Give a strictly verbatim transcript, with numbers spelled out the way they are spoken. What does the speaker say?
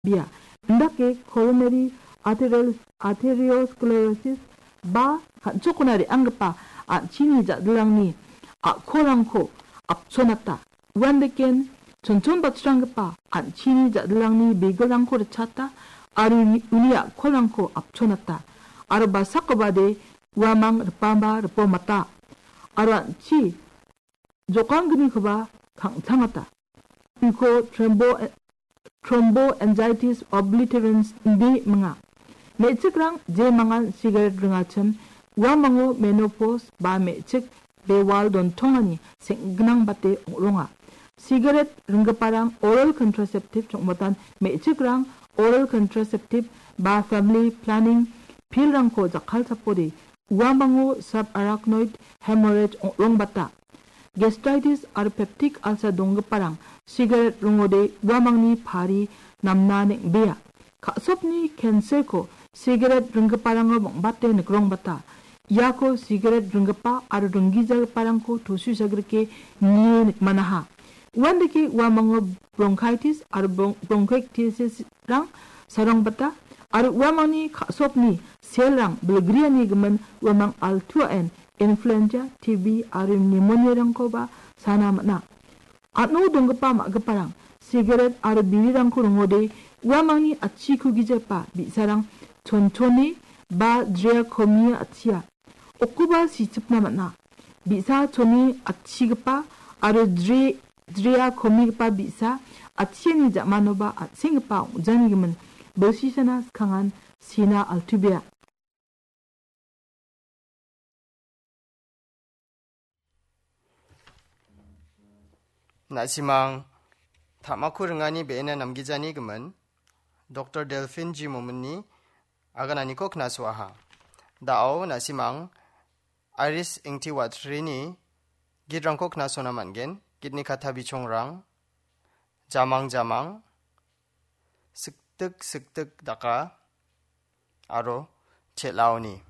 bia. Indake coronary arterial, arteriosclerosis ba kan·chokona re·anggipa an·chini ja·dilrangni a·kolrangko apchonata. Uandeken chonchon batsranggipa an·chini ja·dilrangni bigilrangko ritchata aro uni, uni a·kolrangko apchonata. Aro basakobade uamang ripamba ripomata. Aro an·chi jokanggnikoba kangtangata. Uko trombo-, thromboangitis obliterans ine minga. Me·chikrang jemangan sigaret ringachim, uamango menopause ba me·chik bewal dontongani seng·gnangbate ong·ronga. Sigaret ringgiparang oral contraceptive chongmatan me·chikrang oral contraceptive ba family planning pillrangko jakkalchapode uamango subarachnoid hemorrhage ong·rongbata. Gastritis aro peptic ulcer donggiparang sigaret ringode uamangni pari namna neng·bea. Ka·sopni cancerko sigaret ringgiparango bang·bate nikrongbata. Iako sigaret ringgipa aro ringgijagiparangko tosuisagrike nie nikmanaha. Uandake uamango bronchitis aro bron-, bronchitisrang sarongbata aro uamangni ka·sopni selrang bilgriani gimin uamang altuaen influenza, T B aro pneumoniarangkoba sana man·a. An·o donggipa ma·giparang sigaret aro birirangko ringode uamangni atchiko gijepa bi·sarang chonchone ba drea komia atchia. Okoba sichipna man·a. Bi·sa chone atchigipa aro dre-, drea komigipa bi·sa atchiani ja·manoba an·senggipa ong·janigimin bilsisana skangan sina altubea. Na·simang, ta·mako ringani be·ena namgijani gimin, Doktor Delphine G Mominni agananiko knasoaha. Da·o na·simang, Iris Ingti Watrini gitrangko knasona man·gen, gitni kata bichongrang, Jamang Jamang, Siktik Siktik Daka, aro Chel·aoni.